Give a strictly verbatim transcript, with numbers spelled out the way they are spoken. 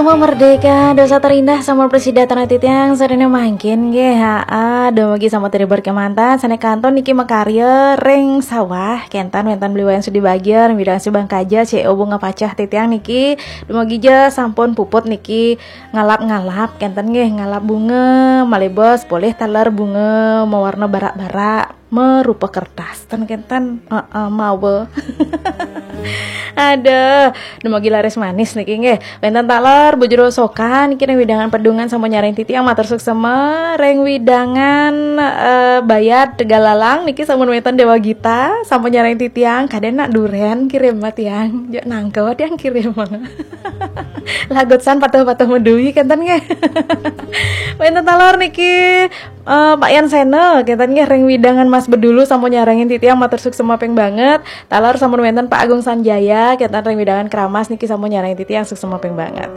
Uma merdeka, dosa terindah sama prasida titiang sadina mangkin nggih. Haa, dumugi sampun teribur kemanten sané kantun niki makarya ring sawah, kénten wénten Beli Wayan Sudi Bagja, Bidang Subang Kaja, C O Bunga Pacah titiang niki, dumugi ja sampun puput niki ngalap-ngalap, kénten nggih, ngalap bunga, malih bos, polih taler bunga mawarna barak-barak, marupa kertas, ten kénten, heeh, mawa. Aduh, dumugi laris manis niki nggih. Wénten taler Bu Jero Sokan niki ring wewidangan Pedungan sampun nyarengin titiang matur suksema, ring wewidangan, eh, Bayat Tegalalang niki sampun wénten Dewa Gita sampun nyarengin titiang, kadén nak duren kirim mah tiang. Jek nangkep tiang kirim. Lagu san patuh-patuh medui kénten nggih. Wénten taler niki, eh, Pak Yan Sena, kénten nggih ring wewidangan Mas Bedulu sampun nyarengin titiang matur suksema ping banget. Taler sampun wénten Pak Agung Sanjaya, kénten ring wewidangan Kramas niki sampun nyarengin titiang suksema ping banget.